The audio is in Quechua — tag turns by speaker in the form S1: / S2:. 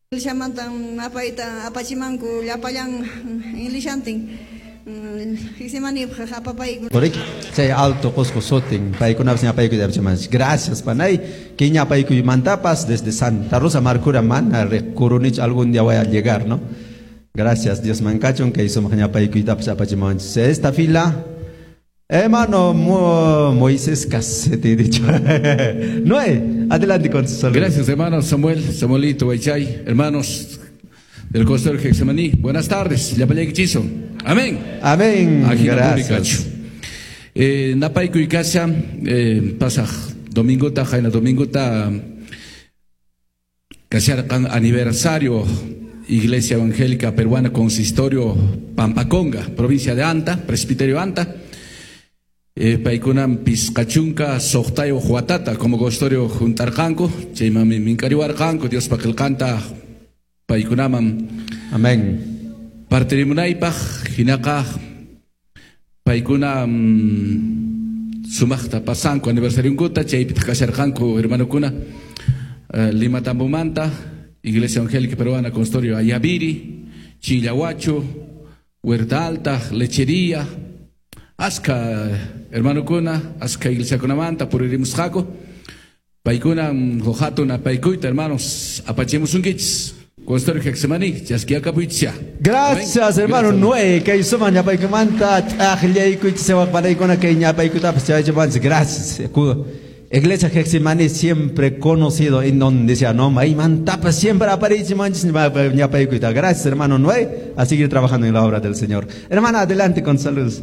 S1: Iglesiamantan apayta apachimanku llapallan iglesiantin Getsemanípaq apapayku.
S2: Correcto. Chay Alto Qosqo sutin paykunapas ñapaykuyta apachimanchik. Gracias, panay. Kay ñapaykuymantapas desde Santa Rosa Marcura mana riqkurunichu, algún día voy a llegar, ¿no? Gracias, Dios mankachun kay sumaq ñapaykuytapas apachimanchik. Esta fila, hermano Moisés Casete, he dicho. Noé, adelante con su saludo.
S3: Gracias, hermano Samuel, Samuelito Guaychay, hermanos del Consistorio Getsemaní. Buenas tardes, llapallaykichiso. Amén.
S2: Amén. Gracias.
S3: Napaykuy kasha, pasaq domingota, qayna domingota, kasharqan aniversario Iglesia Evangélica Peruana Consistorio Pampaconga, provincia de Anta, Presbiterio Anta. Paykunam 56 watata como consistorio juntarqanku, chaymanmi minkariwarqanku Diospa qillqanta paykunaman.
S2: Amén.
S3: Partirimunaypaq hinaqa paykuna sumaqta pasanku aniversarionkuta, chaypitaq kasharqanku hermanokuna Lima Tambomanta, Iglesia Evangélica Peruana Consistorio Ayaviri, Chillahuacho, Huerta Alta, Lechería, aska hermanokuna, aska iglesiakunamanta puririmusqaku. Paykuna hatun apaykuyta, hermanos, apachimusunkichis. Consistorio Getsemaní, chaskiakapuychis.
S2: Gracias, hermano.
S3: Gracias.
S2: Noé, kay sumaq ñapaykumanta t'aqllaykuchis panaykuna kay ñapaykutapas chayachipanchis. Gracias. Iglesia Getsemaní siempre conocido en donde sea, no, maymantapas siempre aparece manchis ñapaykuyta. Gracias, hermano Noé, a seguir trabajando en la obra del Señor. Hermana, adelante con saludos.